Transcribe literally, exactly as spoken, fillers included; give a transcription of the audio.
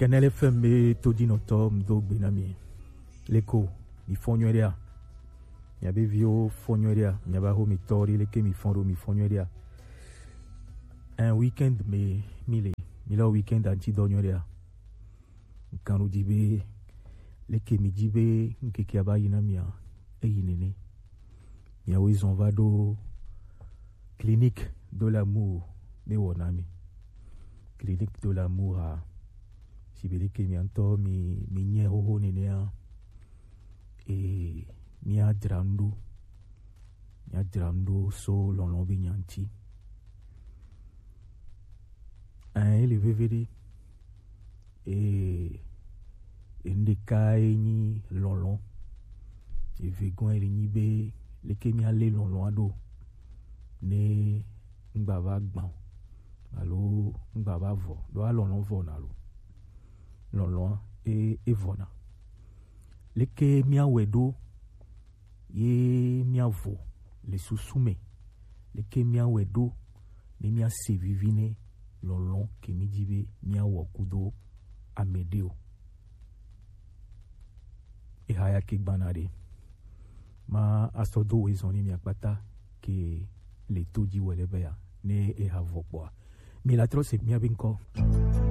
Canal F M be todinɔtɔ, mi do gbe na mi. Leko, mi fɔ nyuie ɖea? Miabe viwo fɔ nyuie ɖea? Miabe ahomitɔ ɖe, leke mi fɔ ɖo, mi fɔ nyuie ɖea? Un weekend me mi le, mi le weekend anti dɔ nyuie ɖea? Kan ɖo di be, leke mi di be ŋkeke aba yi na mia? Eyi nene. Miawo zɔn va ɖo Clinique de l'amour be wɔna mi. Clinique de l'amour a, si be leke mia ŋutɔ mi, mi nyɛ xoxo nenea, e, mia dzra nu ɖo. Mia dzra nu ɖo so lɔlɔ̃ be nya ŋuti. Ɛ, ele veve ɖe. E, enu ɖeka ye nyi lɔlɔ̃. Evegɔe le nyi be, leke mia le lɔlɔ̃a ɖo ne ŋgba va gbã o, alo ŋgba va vɔ, ɖo alɔlɔ̃ vɔ na lo. Lɔlɔ̃a e, e vɔ na. Leke mia wɛ ɖo ye mia vɔ le susu me? Leke mia wɛ ɖo ne mia se vivi ne lɔlɔ̃ ke mi di be mia wɔ kudo ame ɖe o? Eha ya ke gbana ɖe. Ma asɔ do we zɔn ni mia kpata ke le to dzi wɛ le be ya ne eha vɔ kpɔa. Mi la trɔ se mia be ŋkɔ.